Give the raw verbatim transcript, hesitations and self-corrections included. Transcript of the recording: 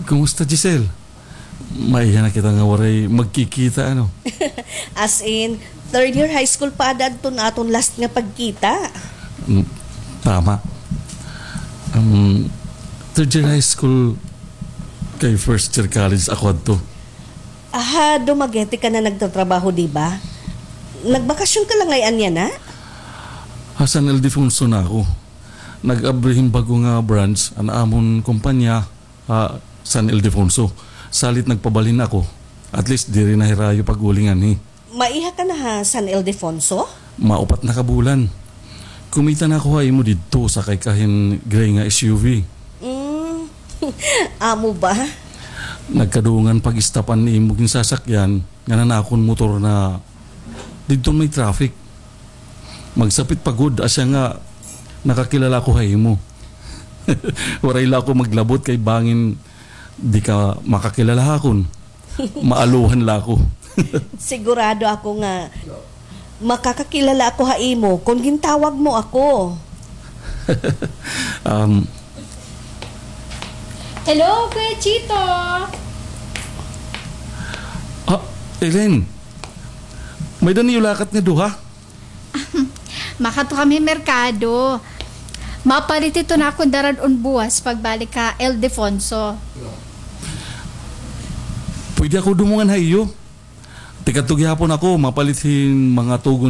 Kumusta, Giselle? Maiha na kita nga waray magkikita, ano? As in, third year high school pa ada adton aton last nga pagkita. Mm, tama. Um, third year high school kay first year college ako adto. Aha, Dumaguete ka na nagtatrabaho, di ba? Nagbakasyon ka la ngay-an yana? Ha San Ildefonso na ako. Nag-abri hin bag-o nga branch an amon kumpanya ha San Ildefonso. Salit nagpabalhin ako. At least diri na hirayo pag-uli nganhi. Maiha ka na ha San Ildefonso? Maupat na ka bulan. Kumita na ako ha imo didto, sakay ka hin gray nga S U V. Mm. Amo ba? Nagkadungan pag-stop an imo ginsasakyan, ngan an akon motor na didto may traffic. Magsapit pa gud, asya nga nakakilala ako ha imo. Waray la ako maglabot kay bangin di ka makakilala ha akon. Maaluhan la ako. Sigurado ako nga makakakilala ako ha imo kon gintawag mo ako. Um, Hello, Kuya Chito! Ah, Elaine, may-ada niyo lakat nga duha? Makadto kami merkado. Mapalit ito na akon darad-on buwas pagbalik ka Ildefonso. Pwede ako dumungan ha iyo? Tikadto gihapon ako, mapalit hin mga tugon